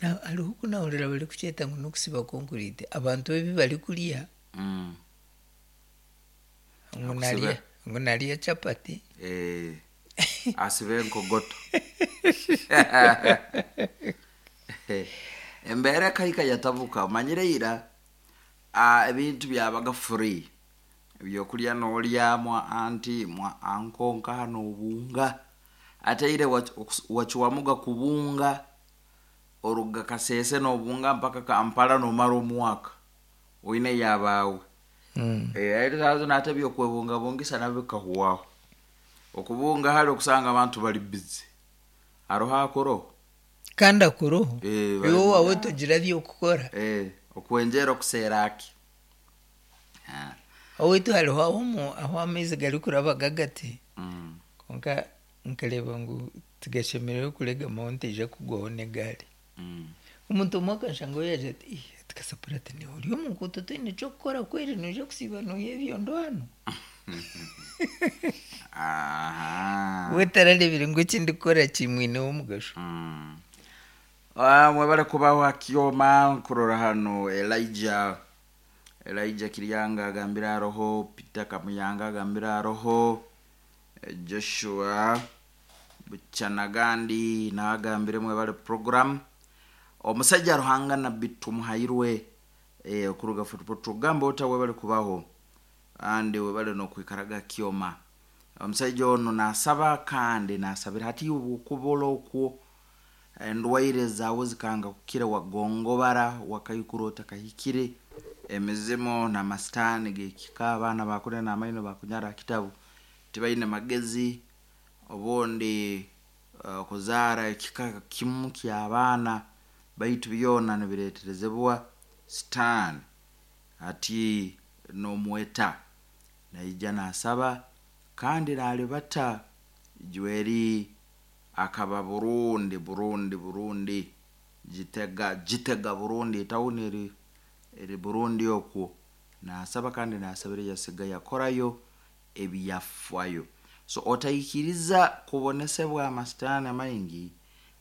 Hariho oku naahurira barikukyeta ngu n'okusiba konkuriiti, abantu ebi barikurya ngu Akusiba. narya ngu narya chapati. Eh, asiba enkogoto. Embeera ekahika yatabuka. Omanyire ira ah, ebintu byabaga free. Ebyokurya noorya mwa anti mwa anko nkaha noobunga. Ate ire wacwamuga kubunga oruga Kasese noobunga mpaka Kampala noomara omwaka oine ey'abaawe. Eh, eshaaha zinu hati eby'okwebungabungisa nabyo bikahwaho. Okubunga hare okusanga abantu bari busy. Hariho akuroho? Kandi akuroho. Eh, bari Iwe owaawe togira by'okukora. Eh, okwengyera okuseera ki? Ah. Owaitu hariho ahu ahu amaizi garikuraba gagati kwonka nkareeba ngu tigashemereire kuregamaho ntaija kugwaho n'egaari. Omuntu omwe akanshangaho yaagira ati ii ati Kasapura ati niiwe ori omu nguuto toine ky'okukora kweri noija kusiiba nooiha ebyondo hanu? We tarareebire ngu eki ndikukora kimwineho omugasho. Ah, mwebale kubaho ha kyoma nkurora hanu Elijah Elijah Kiryanga agambire aroho Peter Kamuyanga agambire aroho eh, Joshua Buchanagandi nawe agambire mwebale program omusajja Ruhanga Nabbi Tumuhairwe eh, okuruga Fort Portal gamba ota webale kubaho kandi webale n'okwikaraga kyoma omusaija onu nasaba kandi nasabira hati obwokubura okwo endwaire zaawe zikanga kukira wagongobara wakaikura otakahikire emizimu n'amasitaani g'ekika abaana bakunena n'amaino bakunyara aha kitabu tibaine magezi obundi okuzaara ekika kimu ky'abaana baitu byona nibireeterezebwa sitaani hati n'omweta naija nasaba kandi nalibata Jweri akaba Burundi Burundi Burundi Gitega Gitega Burundi etawuni eri eri Burundi okwo nasaba kandi nasabira yasiga yakorayo ebyafwayo. So otaikiriza kubonesebwa amasitaani amaingi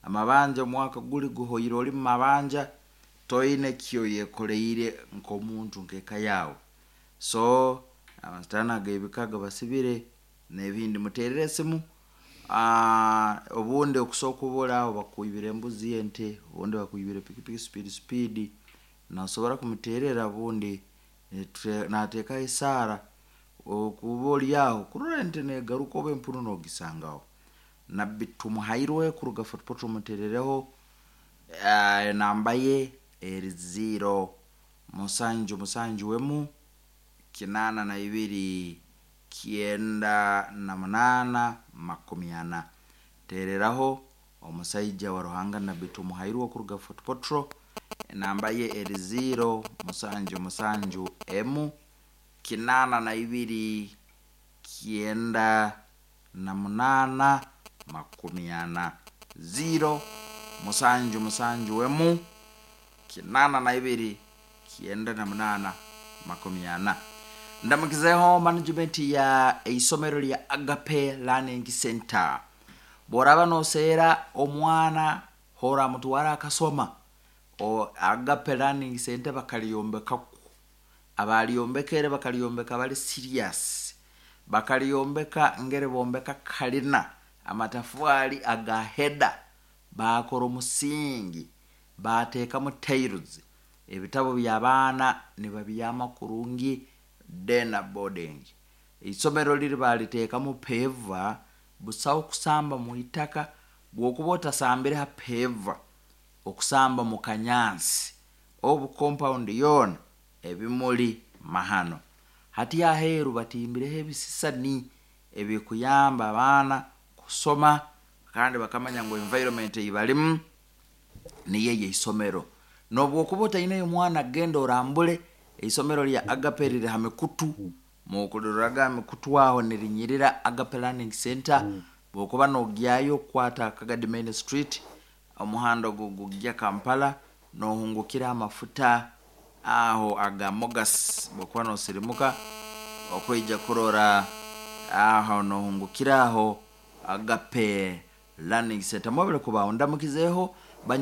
amabanja omwaka guri guhoire ori mu mabanja toine kyoyekoreire nk'omuntu nk'eka yaawe. So amasitaani ag'ebika gabasibire n'ebindi muteerere esimu ah, obundi okusobola okubura aho bakwibire embuzi ente obundi bakwibire pikipiki speed speed nosobora kumuteerera obundi nateekaho esaara okuba ori aho kurora ente negaruka oba empunu nogisangaho. Nabbi Tumuhairwe kuruga Fort Portal muteerereho ah, enamba ye eri ziro musanju musanju emu 82 98 40. Teereraho omusaija wa Ruhanga Nabbi Tumuhairwe okuruga Fort Portal enamba ye eri ziro musanju musanju emu 82 98 40. Ziro musanju musanju emu 82 98 40. Ndamukizeho management ya eisomero lya Agape Learning Center. Bw'oraba noseera omwana hora mutwara akasoma o Agape Learning Center bakalyombekaku. Abalyombekere bakalyombeka bali serious. Bakalyombeka ngeri bombeka kalina amatafari aga heda baakora omusingi baateekamu tiles ebitabo by'abaana nibabyama kurungi dena boarding. Eisomero liri baliteekamu peva busaho kusamba mu itaka bw'okuba otasambire ha peva okusamba mu kanyansi obu compound yoona ebimuli mahano. Hati aheeru batimbireho ebisisani ebikuyamba abaana kusoma kandi bakamanya ngu environment ei barimu niyo ey'eisomero. N'obwokuba otaineyo mwana genda orambule eisomero lya Agape riri ha mikutu mukuliroraga ha mikutu aho nirinyirira Agape Learning Center bwokuba nogyayo kwata Kagadi Main Street omuhanda ogu gugya Kampala nohungukira amafuta aho aga Mogas bwokuba nosirimuka okwija kurora aho nohungukira aho Agape Learning Center. Mwebale kubaho ndamukizeho